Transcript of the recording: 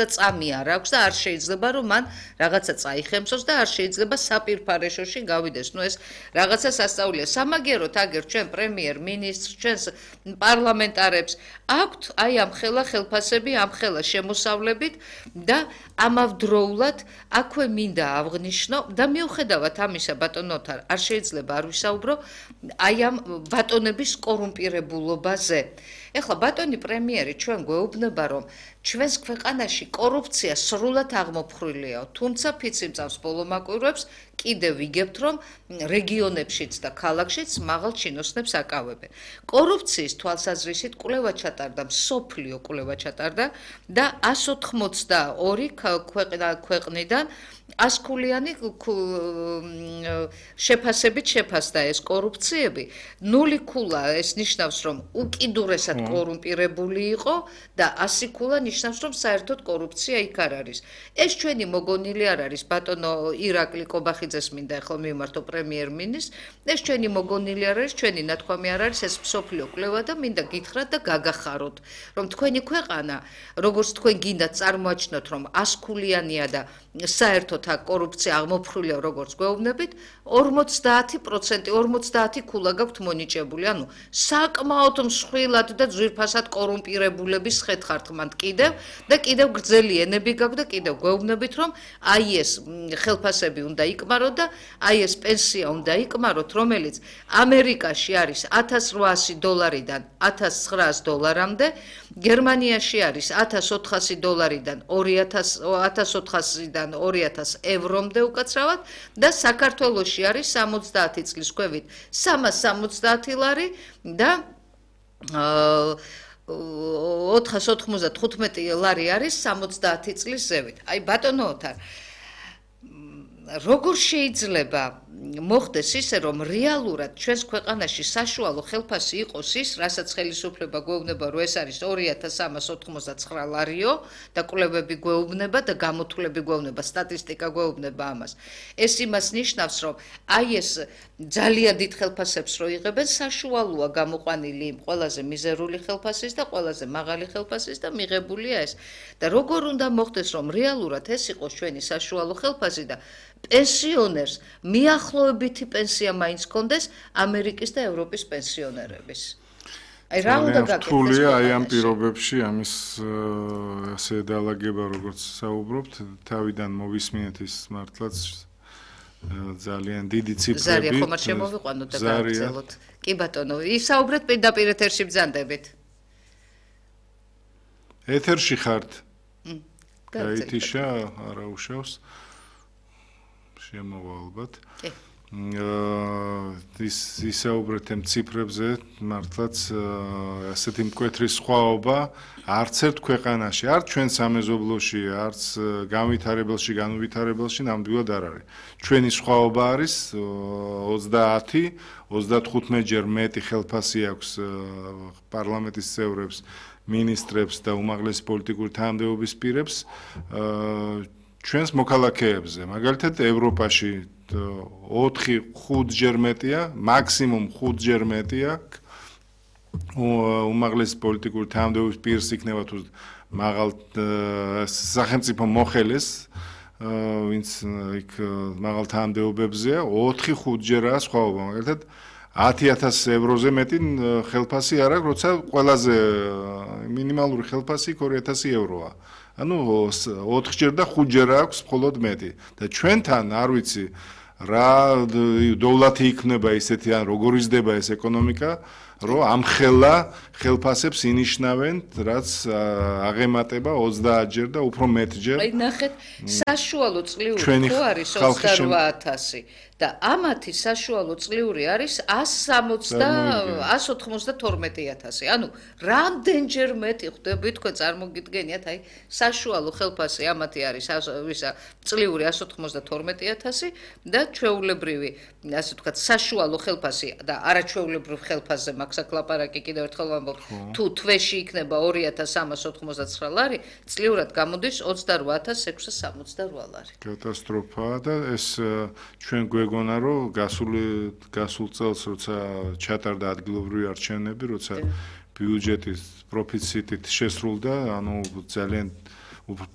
და წამი არ აქვს და არ შეიძლება რომ მან რაღაცა წაიხემსოს და არ შეიძლება საპირფარეშოში გავიდეს. ნუ ეს რაღაცა სასწაულია. სამაგიეროდ აგერ ჩვენ პრემიერ-მინისტრს, ჩვენს პარლამენტარებს აქვთ აი ამ ხელა ხელფასები, ამ ხელა შემოსავლებით და ამავდროულად აქვე მინდა აღნიშნო და მიუხედავად ამისა ბატონო ოთარ არ შეიძლება არ ვისაუბრო აი ამ ბატონების კორუმპირებულობაზე. ეხლა ბატონი პრემიერი ჩვენ გვეუბნება რომ ჩვენს ქვეყანაში კორუფცია სრულად აღმოფხრილიაო, თუმცა ფიციმწავს ბოლო მაკვირვებს კიდევ ვიგებთ რომ რეგიონებშიც და ქალაქშიც მაღალ ჩინოსნებს აკავებენ. კორუფციის თვალსაზრისით კვლევა ჩატარდა, მსოფლიო კვლევა ჩატარდა და 182 ქვეყნიდან 100-ქულიანი შეფასებით შეფასდა ეს კორუფციები. 0 ქულა ეს ნიშნავს რომ უკიდურესად კორუმპირებული იყო და 100 ქულა ნიშნავს რომ საერთოდ კორუფცია იქ არ არის. ეს ჩვენი მოგონილი არ არის ბატონო ირაკლი კობახიძეს მინდა ახლა მივმართო პრემიერ-მინისტრს. ეს ჩვენი მოგონილი არ არის, ჩვენი ნათქვამი არ არის, ეს მსოფლიო კვლევა და მინდა გითხრათ და გაგახაროთ, რომ თქვენი ქვეყანა, როგორც თქვენ გინდათ წარმოაჩინოთ, რომ 100 ქულიანია და საერთოდ აქ კორუფცია აღმოფხრილია როგორც გვეუბნებით, 50% 50 ქულა გაქვთ მონიჭებული. ანუ საკმაოდ მსხვილად და ძვირფასად კორუმპირებულების ხეთხართ მანდ კიდევ და კიდევ გრძელი ენები გაქვთ და კიდევ გვეუბნებით რომ აი ეს ხელფასები უნდა იკმაროთ და აი ეს პენსია უნდა იკმაროთ, რომელიც ამერიკაში არის $1800-დან $1900-მდე, გერმანიაში არის $1400-დან $2400-დან $2000 ევრომდე უკაცრავად და საქართველოში არის 70 წლის ქვევით 370 ლარი და 495 ლარი არის 70 წლის ზევით. აი ბატონო ოთარ, როგორ შეიძლება მოხდეს ისე რომ რეალურად ჩვენს ქვეყანაში საშუალო ხელფასი იყოს ის, რასაც ხელისუფლება გვეუბნება რომ ეს არის 2389 ლარიო და კვლევები გვეუბნება და გამოთვლები გვეუბნება, სტატისტიკა გვეუბნება ამას. ეს იმას ნიშნავს რომ აი ეს ძალიან დიდ ხელფასებს რო იღებენ, საშუალოა გამოყვანილი იმ ყველაზე მიზერული ხელფასის და ყველაზე მაღალი ხელფასის და მიღებულია ეს. და როგორ უნდა მოხდეს რომ რეალურად ეს იყოს ჩვენი საშუალო ხელფასი და პენსიონერს მიახლოებითი პენსია მაინც კონდეს ამერიკის და ევროპის პენსიონერების. აი რა უნდა გაკეთდეს? რთულია აი ამ პირობებში ამის ასე დაალაგება როგორც საუბრობთ, თავიდან მოვისმინეთ ის მართლაც ძალიან დიდი ციფრები. ზარია ხომ არ შემოვიყვანოთ და გავგრძელოთ. კი ბატონო, ისაუბრეთ პირდაპირ ეთერში ბრძანდებით. ეთერში ხართ? გაითიშა, არა უშავს. შემოვა ალბათ. ისაუბრეთ ამ ციფრებზე, მართლაც ასეთი მკვეთრი სხვაობა არც ერთ ქვეყანაში, არც ჩვენ სამეზობლოში, არც განვითარებელში, განუვითარებელში ნამდვილად არ არის. ჩვენი სხვაობა არის 30-35 ჯერ მეტი ხელფასი აქვს პარლამენტის წევრებს, მინისტრებს და უმაღლესი პოლიტიკური თანამდებობის პირებს ჩვენს მოქალაქეებზე. მაგალითად ევროპაში 4-5 ჯერ მეტია, მაქსიმუმ 5 ჯერ მეტია უმაღლესი პოლიტიკური თანამდებობის პირს იქნება თუ მაღალ სახელმწიფო მოხელეს, ვინც იქ მაღალ თანამდებობებზეა, 4-5 ჯერაა სხვაობა. მაგალითად 10,000 ევროზე მეტი ხელფასი არ აქვს, როცა ყველაზე მინიმალური ხელფასი 2,000 ევროა. ანუ 4 ჯერ და 5 ჯერ აქვს მხოლოდ მეტი. და ჩვენთან არ ვიცი რა დოვლათი იქნება ისეთი ან როგორ იზრდება ეს ეკონომიკა, რომ ამ ხელფასებს ინიშნავენ, რაც აღემატება 30 ჯერ და უფრო მეტ ჯერ. აი ნახეთ, საშუალო წლიური ხო არის 28,000 და ამათი საშუალო წლიური არის 192,000. ანუ რამდენჯერ მეტი ხდებით თქვენ წარმოგიდგენიათ, აი საშუალო ხელფასი ამათი არის წლიური 192,000 და ჩვეულებრივი, ასე ვთქვათ, საშუალო ხელფასი და არაჩვეულებრივ ხელფასზე მაქვს აქ ლაპარაკი კიდევ ერთხელ ვამბობ, თუ თვეში იქნება 2,389 ლარი, წლიურად გამოდის 28,668 ლარი. კატასტროფაა და ეს ჩვენ გვეგონა რომ გასულ წელს როცა ჩატარდა ადგილობრივი არჩევნები, როცა ბიუჯეტის პროფიციტით შესრულდა, ანუ ძალიან უფრო